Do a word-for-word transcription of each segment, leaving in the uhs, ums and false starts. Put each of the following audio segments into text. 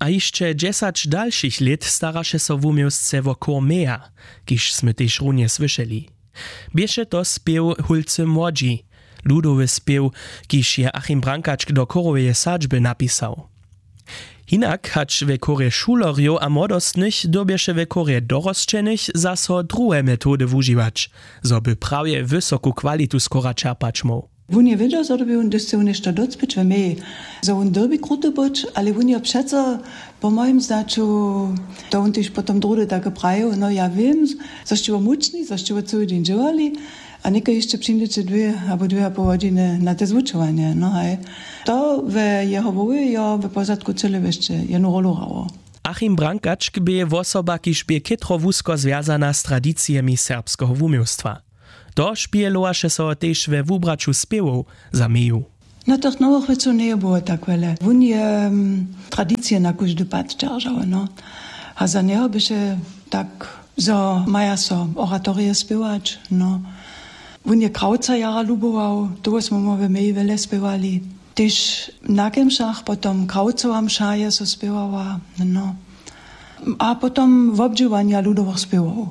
A hišće dźesać dalšich lět staraše so wuměłsce wo chór Meja, kiž smy tež runje słyšeli. Běše to spěw Hólcy młodźi, ludowy spěw, kiž je Achim Brankačk do chóroweje sadźby napisał. Hinak hač we chórje šulerjow a młodostnych dyrbješe we chórje dorosćenych zaso druhe metody wužiwać, zo by prawje wysoku kwalitu z chóra čerpać móhł. Wón je wědźał, zo dyrbi wón, hdyž chce wón něšto docpěć we Meji, zo wón dyrbi kruty być, ale wón je přeco, po mojim znaću, to wón tež potom druhdy take prajił: „No, ja wěm, zo sće wo mučni, zo sće wo cyły dźeń dźěłali, a někaj hišće přińdźeće dwě abo dwě a poł hodźiny na te zwučowanje.“ No haj, to we jeho wołej jo we pozadku cyle wěsće jednu rolu hrało. Achim Brankačk bě wosoba, kiž bě chětro wusko zwjazana z tradicijemi serbskeho wuměłstwa. To špihelowaše so tež we wubraću spěwow za Meju. Na tych nowych wěcow njeje było tak wjele. Wón je, mm, tradicije na kóždy pad dźeržał, no. A za njeho běše tak, zo maja so oratorije spěwać, no. Wón je Krawca jara lubował, toho smy my we Meji wjele spěwali. Tež na kemšach, potom Krawcowa mša je so spěwała, no. A potom wobdźěłanja ludowych spěwow.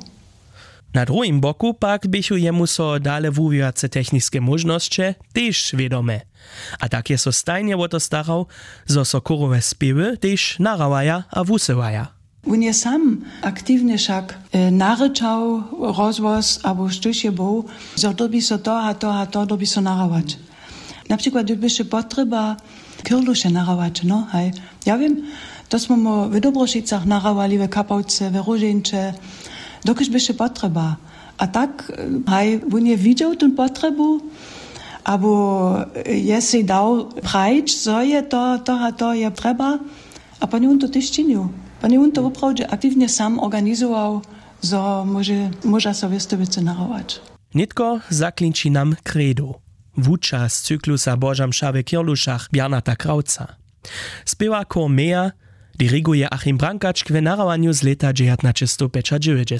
Na druhim boku pak běchu jemu so dale wuwiwace techniske móžnosće tež wědome. A tak je so stajnje wo to starał, zo so chórowe spěwy tež nahrawaja a wusyłaja. Wón je sam aktiwnje wšak, e, narěčał rozhłos abo štóž je był, zo dyrbi so to a to a to dyrbi so nahrawać. Na přikład, hdyž běše potrjeba Kirluše nahrawać, no, haj. Ja wěm, to smy my w Dobrošicach nahrałali, w Kapałce, w Róžeńće, dokelž běše potrjeba. A tak, haj, wón je widźał tón potrjebu, abo je sej dał prajić, zo je to, to a to je trjeba. A poni wón to tež činił. Poni wón to woprawdźe aktiwnje sam organizował, zo móže, móža so wěste wěcy nahrawać. Nětko zaklinči nam kredo. Wuča z cyklusa Boža mša w Kirlušach Bjarnata Krawca. Spěwa chór Meja, diriguje Achim Brankačk w nahrawanju z lěta dźewjatnaćestowpjećadźewjećdźesat.